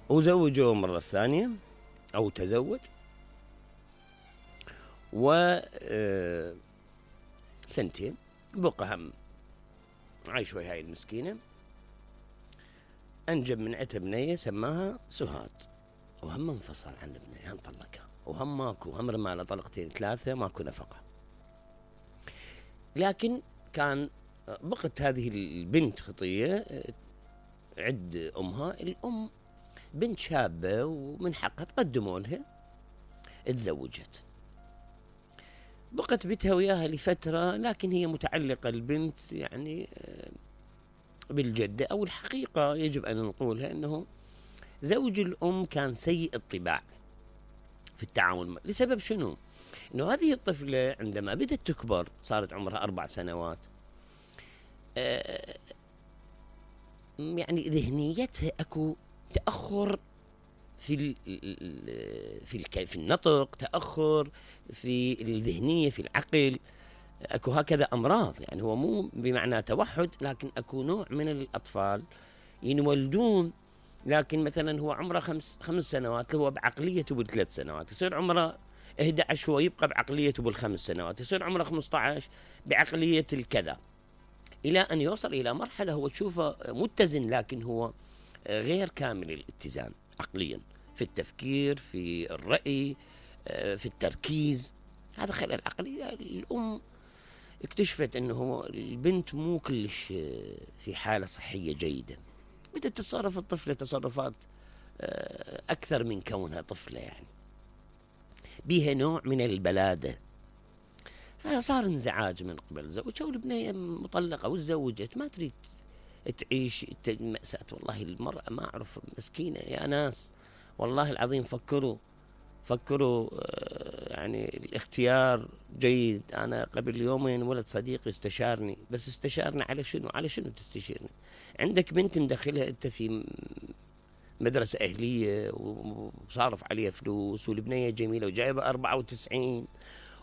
وزوجوه مرة ثانية أو تزوج، و سنتين بقى هم عايش ويا هاي المسكينة. أنجب من عتها بنية سماها سهاد، وهم انفصل عن البنية، هم طلقها، وهم ماكو، هم رماله طلقتين ثلاثة، ماكو نفقة. لكن كان بقت هذه البنت خطية عند أمها. الأم بنت شابة ومن حقها تقدموا لها، تزوجت، بقت بيتها وياها لفترة، لكن هي متعلقة البنت يعني بالجدة. أو الحقيقة يجب أن نقولها أنه زوج الأم كان سيء الطباع في التعامل لسبب شنو؟ أنه هذه الطفلة عندما بدأت تكبر صارت عمرها 4 سنوات، يعني ذهنيتها أكو تأخر في النطق، تأخر في الذهنية، في العقل، أكو هكذا أمراض. يعني هو مو بمعنى توحد، لكن أكو نوع من الأطفال ينولدون لكن مثلا هو عمره 5 سنوات، هو بعقليته بال3 سنوات، يصير عمره 11 هو يبقى بعقليته بال5 سنوات، يصير عمره 15 بعقلية الكذا، إلى أن يوصل إلى مرحلة هو تشوفه متزن لكن هو غير كامل الاتزان عقليا، في التفكير، في الرأي، في التركيز. هذا خلل عقلي. الأم اكتشفت أنه البنت مو كلش في حالة صحية جيدة، بدأت تتصرف الطفلة تصرفات أكثر من كونها طفلة، يعني بيها نوع من البلادة. فصار انزعاج من قبل زوجها، والبنية مطلقة وتزوجت ما تريد تعيش مأساة. والله المرأة ما أعرف مسكينة يا ناس، والله العظيم فكروا يعني الاختيار جيد. أنا قبل يومين ولد صديقي استشارني، بس استشارني على شنو؟ على شنو تستشيرني؟ عندك بنت مدخلها أنت في مدرسة أهلية وصارف عليها فلوس، والبنية جميلة وجايبة 94،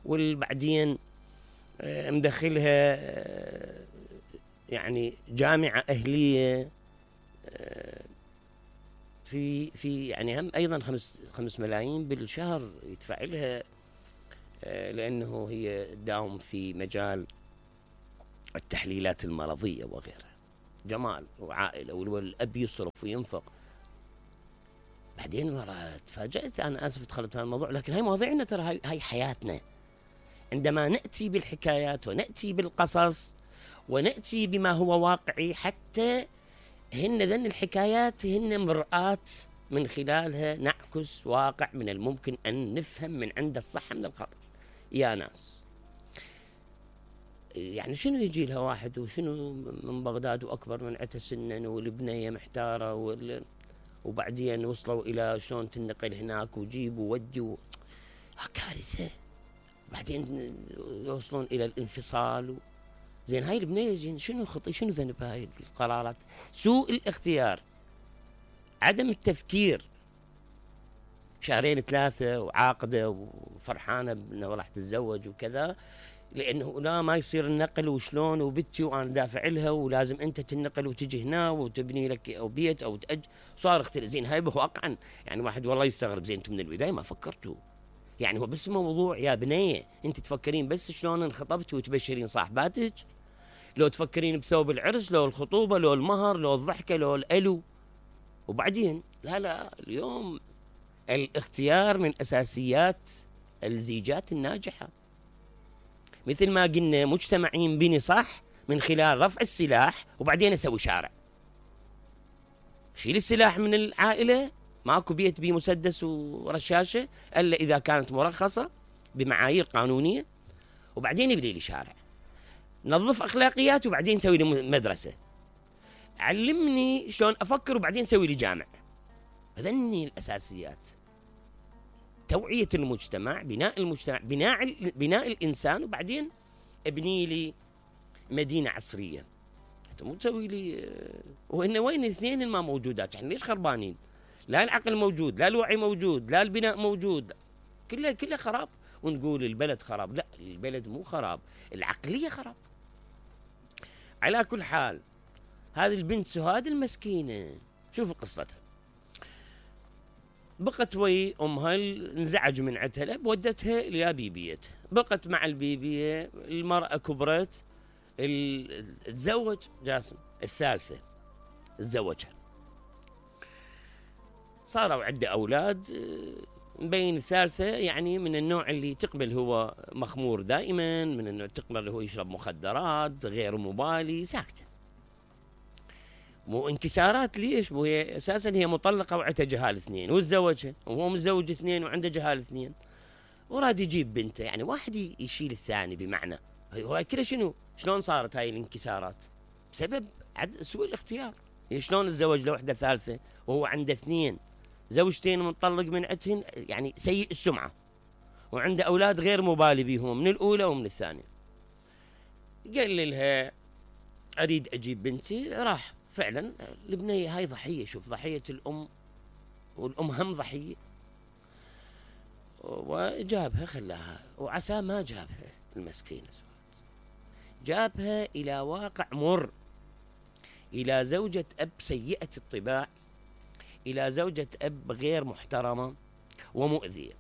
والبعدين مدخلها يعني جامعة أهلية في يعني هم أيضا 5 ملايين بالشهر يدفع لها، لأنه هي داوم في مجال التحليلات المرضية وغيرها، جمال وعائلة، والأب يصرف وينفق. بعدين مرة تفاجأت، أنا آسف دخلت في الموضوع، لكن هاي مواضيعنا ترى، هاي حياتنا. عندما نأتي بالحكايات ونأتي بالقصص ونأتي بما هو واقعي، حتى ذن الحكايات هن مرآة من خلالها نعكس واقع من الممكن أن نفهم من عند الصح من الخطأ. يا ناس يعني شنو يجي لها واحد وشنو من بغداد وأكبر من عتها سنا، والبنية محتارة، وبعدين وصلوا إلى شلون تنقل هناك وجيب وودي كارثة. بعدين يوصلون إلى الانفصال. زين هاي البنية زين شنو خطي، شنو ذنب هاي القرارات؟ سوء الاختيار، عدم التفكير. 2 3 وعاقدة وفرحانة بأنه راح تتزوج وكذا، لأنه لا ما يصير النقل وشلون، وبنتي وأنا دافع لها ولازم أنت تنقل وتجي هنا وتبني لك أو بيت أو صار اختلاف. زين هاي واقعا يعني واحد والله يستغرب، زين أنتم من البداية ما فكرتوا؟ يعني هو بس موضوع يا بنية أنت تفكرين بس شلون انخطبتي وتبشرين صاحباتك، لو تفكرين بثوب العرس، لو الخطوبة، لو المهر، لو الضحكة، لو الألو، وبعدين لا اليوم الاختيار من أساسيات الزيجات الناجحة. مثل ما قلنا مجتمع ينبني صح من خلال رفع السلاح وبعدين أسوي شارع. شيل السلاح من العائلة، ماكو بيت بيه مسدس ورشاشة إلا إذا كانت مرخصة بمعايير قانونية، وبعدين يبني لي شارع. نظف أخلاقيات وبعدين سوي لي مدرسة. علمني شلون أفكر وبعدين سوي لي جامع. هذني الأساسيات: توعية المجتمع، بناء المجتمع، بناء الإنسان، وبعدين ابني لي مدينة عصرية. مو تسوي لي وإن وين الاثنين ما موجودات، يعني ليش خربانين؟ لا العقل موجود، لا الوعي موجود، لا البناء موجود، كله خراب. ونقول البلد خراب، لا البلد مو خراب، العقلية خراب. على كل حال هذه البنت سهاد المسكينة شوفوا قصتها. بقت وي امها، انزعج من عندها الاب، ودتها الى بيبيتها، بقت مع البيبيه. المراه كبرت، تزوج جاسم الثالثه، تزوجها، صاروا عنده اولاد. مبين الثالثه يعني من النوع اللي تقبل هو مخمور دائما، من النوع تقبل هو يشرب مخدرات، غير مبالي، ساكته. مو انكسارات ليش؟ مو هي اساسا هي مطلقه وعندها جهال اثنين، وتزوجها وهو متزوج اثنين وعنده جهال اثنين، وراد يجيب بنته. يعني واحد يشيل الثاني، بمعنى هو كله شنو؟ شلون صارت هاي الانكسارات؟ بسبب سوء الاختيار. شلون تزوج لوحده ثالثه وهو عنده اثنين، زوجتين مطلق من عندهن، يعني سيء السمعه، وعنده اولاد غير مبالي بيهم من الاولى ومن الثانيه. قال لها اريد اجيب بنتي، راح فعلا. البنيه هاي ضحيه، شوف ضحيه الام، والام هم ضحيه. وجابها خلاها، وعسى ما جابها المسكينه، جابها الى واقع مر، الى زوجة اب سيئة الطباع، الى زوجة اب غير محترمة ومؤذية.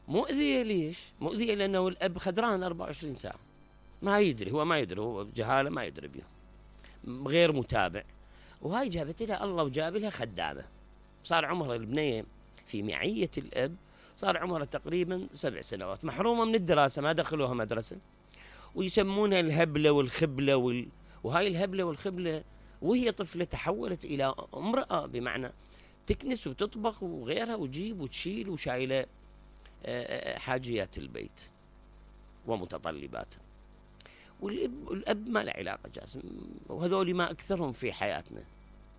مؤذية ليش؟ مؤذية لانه الاب خدران 24 ساعة، ما يدري، هو ما يدري، هو جهالة ما يدري بيهم، غير متابع. وهاي جابت لها الله، وجاب لها خدامة. صار عمرها البنية في معية الاب، صار عمرها تقريبا 7 سنوات، محرومة من الدراسة، ما دخلوها مدرسة، ويسمونها الهبلة والخبلة وهاي الهبلة والخبلة وهي طفلة تحولت إلى امرأة، بمعنى تكنس وتطبخ وغيرها، وتجيب وتشيل، وشايلة حاجيات البيت ومتطلباتها. والأب ما له علاقة جاسم، وهذول ما أكثرهم في حياتنا،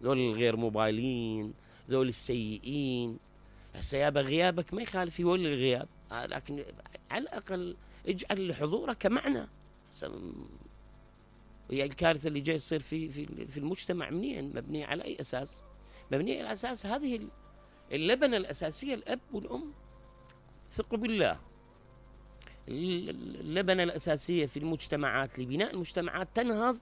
ذول الغير مبالين، ذول السيئين. هسه يابا غيابك ما يخالف يولي الغياب، لكن على الأقل اجعل لحضورك معنى. وهي الكارثة اللي جاي تصير في المجتمع منين؟ مبنية على أي أساس؟ مبنية على أساس هذه اللبنة الأساسية، الأب والأم. ثقوا بالله، اللبنة الأساسية في المجتمعات لبناء المجتمعات تنهض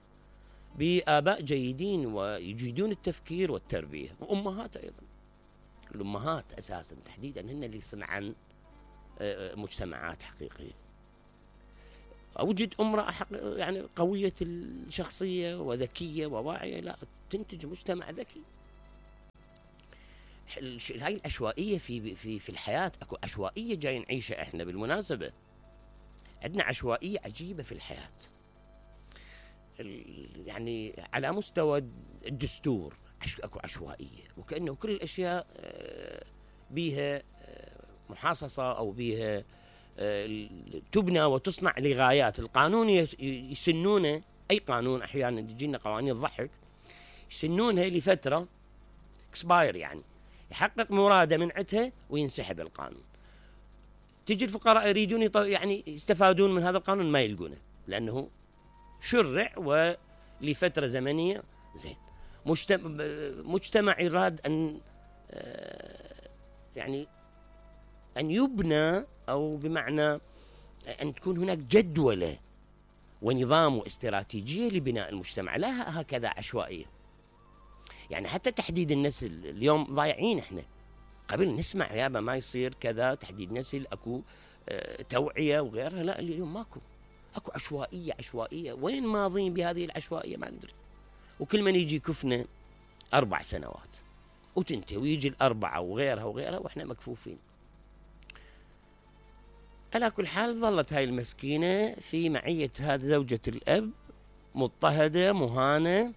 بآباء جيدين ويجيدون التفكير والتربية، وأمهات أيضا. الأمهات أساسا تحديدا هن اللي يصنعن مجتمعات حقيقية. أوجد امرأة يعني قوية الشخصية وذكية وواعية، لا تنتج مجتمع ذكي. هاي العشوائية في الحياة، اكو عشوائية جاي نعيشها احنا. بالمناسبة عندنا عشوائية عجيبة في الحياة، يعني على مستوى الدستور اكو عشوائية، وكأنه كل الاشياء بيها محاصصة او بيها تبنى وتصنع لغايات. القانون يسنونه، اي قانون احيانا تجينا قوانين تضحك، يسنونها لفترة اكسباير، يعني يحقق مراده من عندها وينسحب القانون. تجي الفقراء يريدون يعني يستفادون من هذا القانون، ما يلقونه، لانه شرع ولفترة زمنية. زين، مجتمع يراد ان يعني أن يبنى، أو بمعنى أن تكون هناك جدولة ونظام واستراتيجية لبناء المجتمع، لا هكذا عشوائية. يعني حتى تحديد النسل اليوم ضايعين احنا. قبل نسمع يابا ما يصير كذا تحديد نسل، اكو توعية وغيرها، لا اليوم ماكو، اكو عشوائية. وين ماضين بهذه العشوائية ما ندري. وكل من يجي كفنا 4 سنوات وتنتهي، ويجي 4 وغيرها واحنا مكفوفين. على كل حال ظلت هاي المسكينة في معية هذه زوجة الأب، مضطهدة مهانة،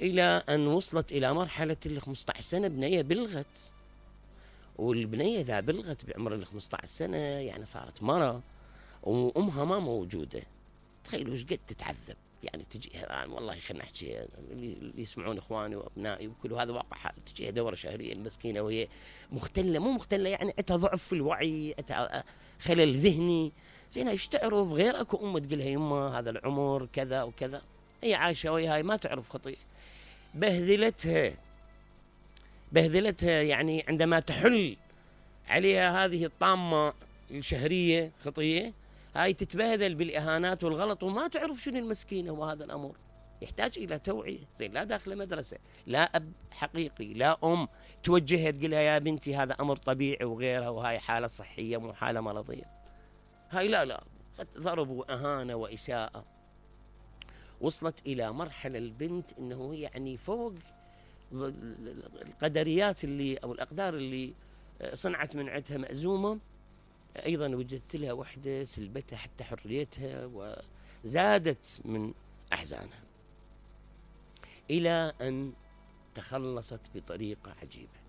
إلى أن وصلت إلى مرحلة 15 سنة بنية بلغت. والبنية إذا بلغت بعمر 15 سنة يعني صارت مرة، وأمها ما موجودة. تخيلوا إيش قد تتعذب. يعني تجي والله خلنا نحكي اللي يسمعون إخواني وأبنائي وكل هذا واقع حال، تجيها دورة شهرية المسكينة وهي مختلة، مو مختلة يعني عندها ضعف في الوعي، عندها خلل ذهني. زين ايش تعرف؟ غير اكو امه تقولها يمه هذا العمر كذا وكذا، هي عايشه وياها ما تعرف خطيئه. بهذلتها يعني عندما تحل عليها هذه الطامه الشهريه خطيه، هاي تتبهذل بالاهانات والغلط، وما تعرف شنو المسكينه وهذا الامر. يحتاج إلى توعية. زين لا داخل مدرسة، لا أب حقيقي، لا أم توجهها تقولها يا بنتي هذا أمر طبيعي وغيرها، وهاي حالة صحية مو حالة مرضية. هاي لا ضرب وأهانة وإساءة. وصلت إلى مرحلة البنت أنه يعني فوق القدريات اللي أو الأقدار اللي صنعت من عندها مأزومة، أيضا وجدت لها وحدة سلبتها حتى حريتها وزادت من أحزانها، إلى أن تخلصت بطريقة عجيبة.